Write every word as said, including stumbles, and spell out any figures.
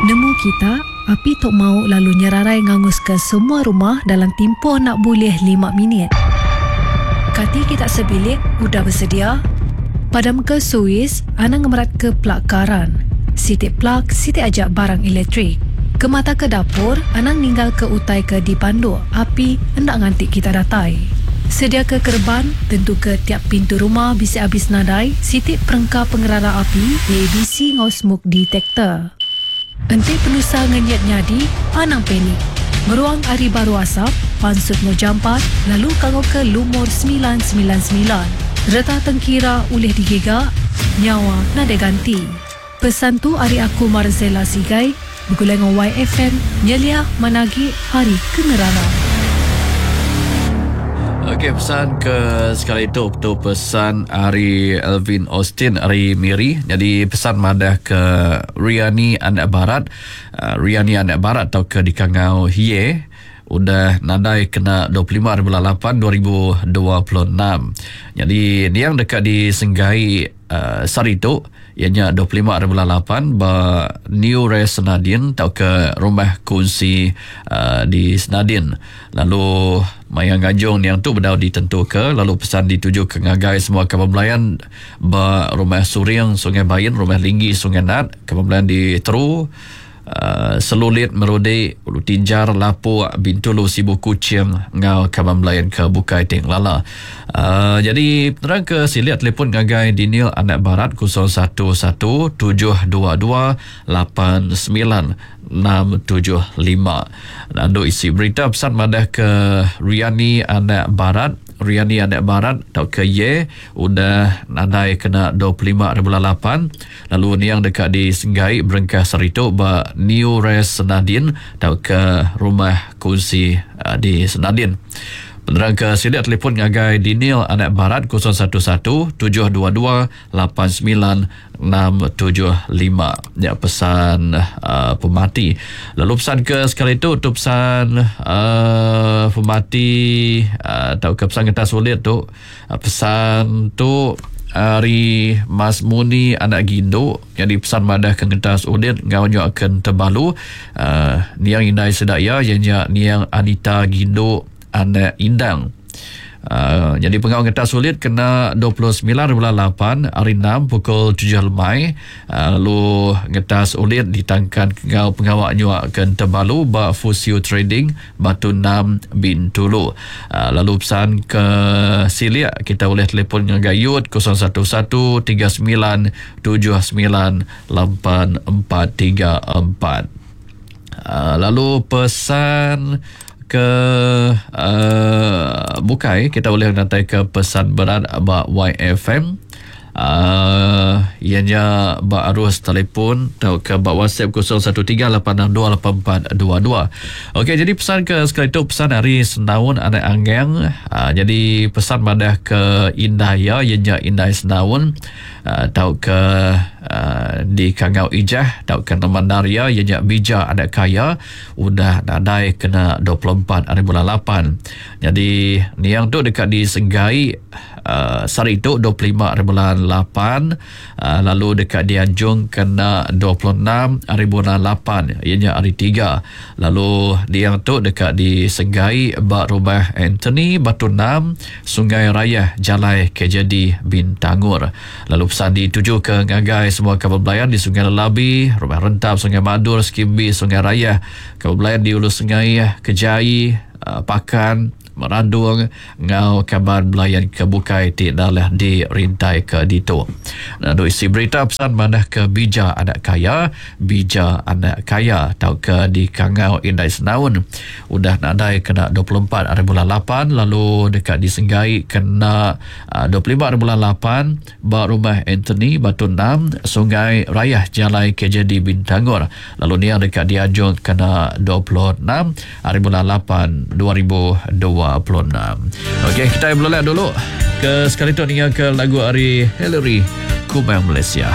Nemu kita, api tu mau lalu nyerarai nganguska semua rumah dalam timpuh nak bulih lima minit. Kati kita sebilik udah bersedia? Padam ke suis, anang ngemerat ke plak karan. Siti plak, siti aja barang elektrik. Kemata ke dapur, anang ninggal ke utai ke dipanduk, api hendak nganti kita datai. Sedia ke kerban, tentu ke tiap pintu rumah bisa habis nadai, siti perengka pengerara api, A B C ngau smoke detector. Enti penusa ngenyit nyadi, anang panik. Meruang ari baru asap, pansut ngau jampat, lalu kangau ke lumur sembilan sembilan sembilan. Reta tengkira ulih digiga, nyawa nadai ganti. Pesan tu ari aku Marzela Sigai, begulai ngau Y F M, nyelia managi hari kengerara. Okey, pesan ke sekali itu tu pesan ari Alvin Austin ari Miri. Jadi pesan madah ke Riani Anak Barat, uh, Riani Anak Barat atau ke dikangau Hie udah nadai kena dua puluh lima hari bulan lapan dua ribu dua puluh enam. Jadi niang dekat di Senggai uh, sari tu ianya dua puluh lima hari bulan lapan ba New Rest Senadin atau ke rumah kunci uh, di Senadin. Lalu mayang ganjung niang tu bedau ditentukan, lalu pesan dituju ke ngagai semua kaban belayan ba rumah Suring Sungai Bain, rumah Linggi Sungai Nat, kaban belayan di Teru, Uh, Selulit Merudi, Ulu Tinjar, Lapuk, Bintulu, Sibu Kuching ngau kaban belayan ke Bukai Ting Lala. Uh, jadi penerang ke siliat telefon ngagai Daniel Anak Barat kosong satu satu tujuh dua dua lapan sembilan enam tujuh lima. Lalu isi berita pesan madah ke Riani Anak Barat, Riani Anak Barat atau ke Ye udah nadai kena dua puluh lima hari bulan lapan, lalu niang dekat di Senggai berengkah seritu ba New Rest Senadin atau ke rumah kunci uh, di Senadin. Penerang ke siliat telefon ngagai Daniel Anak Barat kosong satu satu tujuh dua dua lapan sembilan enam tujuh lima. Ya, pesan uh, pemati. Lalu pesan ke sekali tu tu pesan uh, pemati uh, atau ke pesan kertas sulit tu, uh, pesan tu ari Mas Muni Anak Gindu. Jadi pesan madah ke ngentas udit ngau nyak ke tebalu uh, niang indai sedaya ianya niang Anita Gindu Anak Indang. Uh, jadi pengawal ngetas sulit kena dua puluh sembilan bulan lapan hari enam pukul tujuh lemai. Uh, lalu ngetas ulit ditangkan ngau pengawal nyuak ke Tebalu ba Fusio Trading Batu enam Bintulu. Uh, lalu pesan ke Siliak kita boleh telefon dengan Gayut kosong satu satu tiga sembilan tujuh sembilan lapan empat tiga empat. Uh, lalu pesan ke uh, bukai kita boleh nanti ke pesan berat ba Y F M. Uh, ianya ba arus telefon atau ke ba WhatsApp kosong satu tiga lapan enam dua lapan empat dua dua. Okey, jadi pesan ke sekali tu pesan hari Senaun Anak Anggang. Uh, jadi pesan madah ke Indaya ianya Indai Senaun atau uh, ke uh, di Kangau Ijah atau ke Mandaria ianya Bija Anak Kaya udah nadai kena dua puluh empat hari bulan lapan. Jadi niang tu dekat di Senggai uh, sehari tu dua puluh lima hari bulan lapan, uh, lalu dekat di Anjung kena dua puluh enam hari bulan lapan ianya hari tiga. Lalu niang tu dekat di Senggai bak rumah Anthony Batu enam Sungai Raya Jalai K J D Bintangur. Lalu pesan dituju ke ngagai semua kapal belayan di Sungai Lelabi, Rumah Rentap, Sungai Madur, Skimbi, Sungai Raya, kapal belayan di Ulu Sungai Kejai, uh, Pakan, Merandung, ngau kabar belayan ke Bukai ti dalah di rintai ke Dito. Lalu isi berita pesan manah ke Bija Anak Kaya, Bija Anak Kaya atau ke di Kangau Indai Senaun udah nadai kena dua puluh empat hari bulan lapan, lalu dekat di Senggai kena uh, dua puluh lima hari bulan lapan ba rumah Anthony Batu enam Sungai Raya Jalai K J D Bintangor. Lalu ni yang dekat di Anjung kena dua puluh enam hari bulan lapan dua ribu dua puluh enam. Okey, kita berlelak dulu ke sekali tu dengar ke lagu ari Hillary Kumang Malaysia.